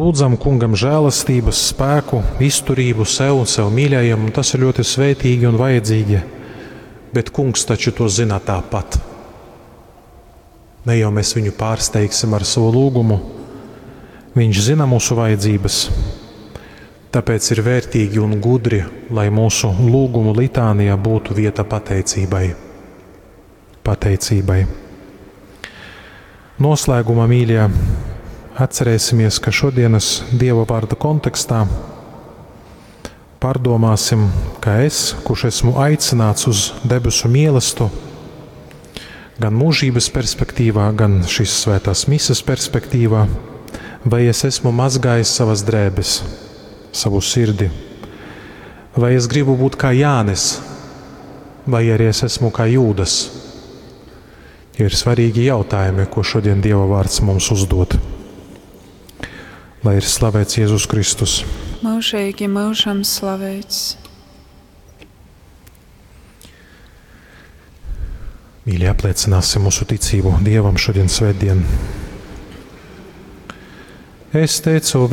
Lūdzam kungam žēlastības, spēku, izturību sev un sev mīļajiem, un tas ir ļoti svētīgi un vajadzīgi, bet kungs taču to zina tāpat. Ne jau mēs viņu pārsteigsim ar savu lūgumu, viņš zina mūsu vajadzības. Tāpēc ir vērtīgi un gudri, lai mūsu lūgumu litānijā būtu vieta pateicībai. Pateicībai. Noslēgumā, mīļie, atcerēsimies, ka šodienas Dieva vārda kontekstā pārdomāsim, ka es, kurš esmu aicināts uz debesu mielestu, gan mūžības perspektīvā, gan šīs svētās mises perspektīvā, vai es esmu mazgājis savas drēbes, savu sirdi, vai es gribu būt kā Jānis, vai arī es esmu kā Jūdas. Tie ir svarīgi jautājumi, ko šodien Dieva vārds mums uzdod. Lai ir slavēts Jēzus Kristus. Mūžīgi mūžam slavēts. Mīļie, apliecināsim mūsu ticību Dievam šodien svētdien. Es teicu.